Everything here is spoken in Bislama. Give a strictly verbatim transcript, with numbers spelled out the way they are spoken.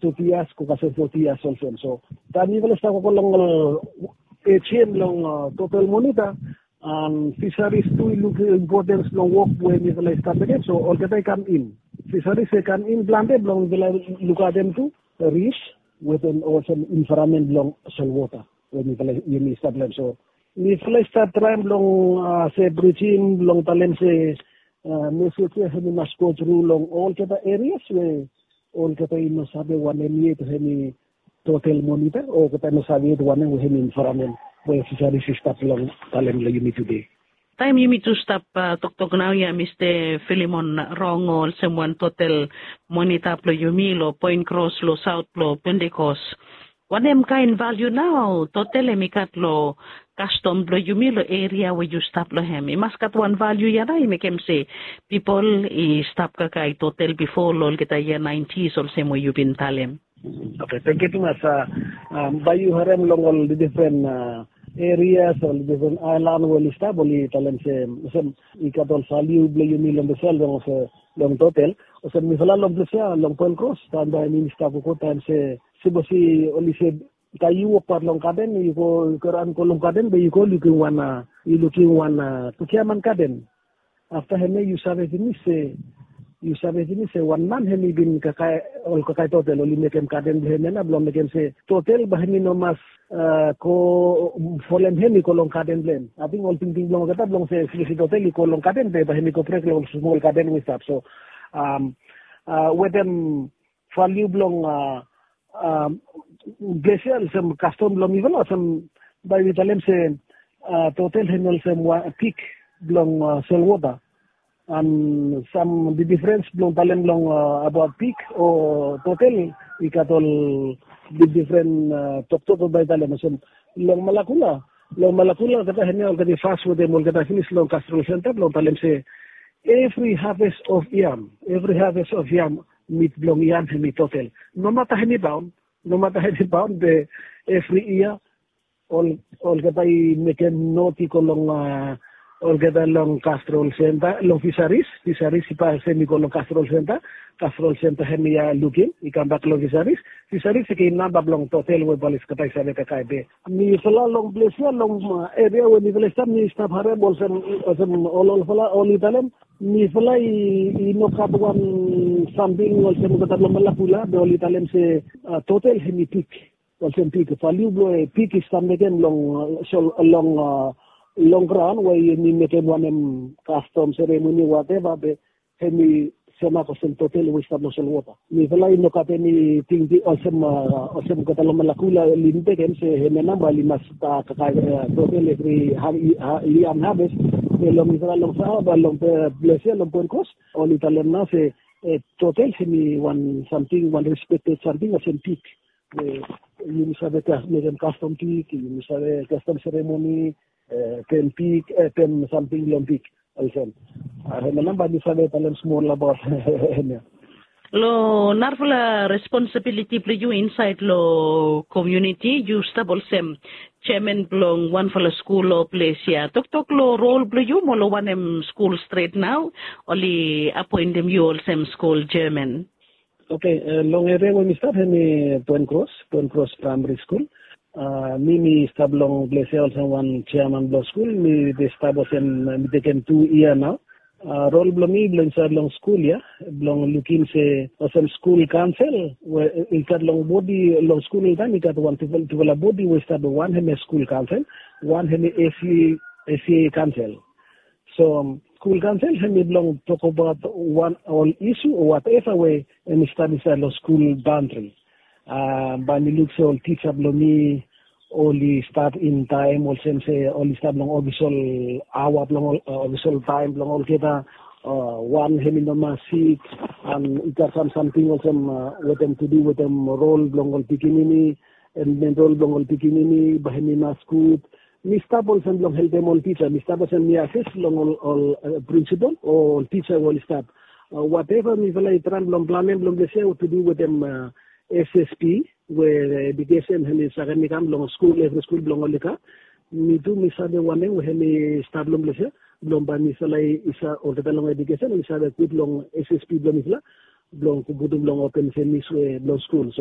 thirty years, go kasem forty years olsem. So taem mifala i stap wokabaot long ol AGM long total monitor, and fisheries tu i luk importance long wok we mifala i stap mekem. So olgeta i kam in. Fisheries i kam in plante blong mifala lukaotem tu reefs wetem olsem environment blong solwota we mifala yumi stap long hem. So mifala i stap traem blong se brijim blong talem se mesej ya hemi mas go tru long olgeta areas we olgeta i no save wanem yet hemi total monitor, olgeta i no save yet wanem we hemi environment we fisheries i stap long talem long yumi tude. Taem yumi tu stap toktok nao ya, Mista Filimon Rong, olsem wan total monitor blong yumi long Point Cross long saot blong Pentecost, wanem kaen valiu nao total hemi gat long kastom blong yumi long eria we yu stap long hem? I mas gat wan valiu ya nao i mekem se pipol i stap kakae total bifo long olgeta yia naentis olsem we yu bin talem. Oke, tangkiu tumas. Bae yu harem long ol difren erias, ol difren aelan we oli stap, oli talem se olsem i gat ol valiu blong yumi long dispela long total. Olsem mifala long ples ya long Point Cross, taem bae mi stap go taem se sipos oli se taem yu wokbaot long gaden, yu go, yu go raon go long gaden be yu go lukim wan, yu lukim wan Tukiaman gaden. Afta hemia yu save pinis se, yu save pinis se wan man hemi bin kakae, ol kakae total oli mekem gaden blong hemia nao blong mekem se total bae hemi no mas go folem hemi go long gaden blong hem. Ating ol tingting blong olgeta blong se sipos total i go long gaden be bae hemi go brek long ol smol gaden we i stap. So wetem valiu blong ples ya olsem kastom blong mifala olsem bae mi talem se total hemi olsem wan pik blong solwota. An sam difrens blong talem long abaot pik o total i gat ol difren toktok we bae talem olsem long Malakula. Long Malakula olgeta hemia olgeta i fas wetem olgeta pinis long kasrol senta blong talem se evri haves of yam, evri haves of yam, mit blong yam hemi total. Nomata hemi baon, nomata hemi baon be evri yia olgeta i mekem not i go long olgeta long kasrol senta, long fisaris. Fisaris i pasem i go long kasrol senta. Kasrol senta hemia lukim i kambak long fisaris. Fisaris i givim namba blong total we bae olgeta i save kakae be. Mifala long ples ya long eria we mifala i stap, mi stap harem olsem, olsem ol olfala oli talem mifala i no gat wan samting olsem olgeta blong Malakula be oli talem se total hemi pik. Olsem pik, valiu blong pik i stap mekem long long long graon we yumi mekem wanem kastom seremoni wateva be hemi semak olsem total we i stap long solwota. Mifala i no gat eni tingting olsem olsem olgeta long Malakula oli mekem se hemia namba oli mas kakae total evri yia haves. Be long mifala long Saoba long ples ya long Point Cross oli talem nao se total hemi wan samting, wan respekted samting olsem pik. Yumi save mekem kastom pik, yumi save kastom seremoni, pem pik, pem samting long pik. Olsem hemia nao bae mi save talem smol abaot hemia. Long narafala responsibiliti blong yu insaed long komuniti, yu stap olsem jeaman blong wanfala skul long ples ya. Toktok long rol blong yu mo long wanem skul stret nao oli apoentem yu olsem skul jeaman? Oke, long eria we mi stap hemi Point Cross, Point Cross Praemari Skul. Mi mi stap long ples ya olsem wan jeaman blong skul. Mi bin stap olsem mi tekem tu yia nao. Rol blong mi blong insaed long skul ya blong lukim se olsem skul kaonsel we i gat long bodi long skul oltaem i gat wan tufala bodi we i stap, wan hemi skul kaonsel, wan hemi SEA kaonsel. So skul kaonsel hemi blong tokbaot wan ol isu o wateva we hemi stap insaed long skul baondri. Bae mi luk se ol tija blong mi oli stap in taem olsem se oli stap long ofisol aoa blong ol, ofisol taem blong olgeta. Wan hemi no mas sik, an i gat sam samting olsem wetem tu du wetem rol blong ol pikinini, en men rol blong ol pikinini bae hemi mas gud. Mi stap olsem blong helpem ol tija, mi stap olsem mi ases long ol prinsipol o ol tija we oli stap. Wateva mifala i traem blong planem long ples ya tu du wetem SSP we edukesen hemi sakem i kam long skul, evri skul blong oli gat. Mi tu mi save wanem we hemi stap long ples ya blong bae mifala i save, olgeta long edukesen oli save gud long SSP blong mifala blong putum long open semis we blong skul. So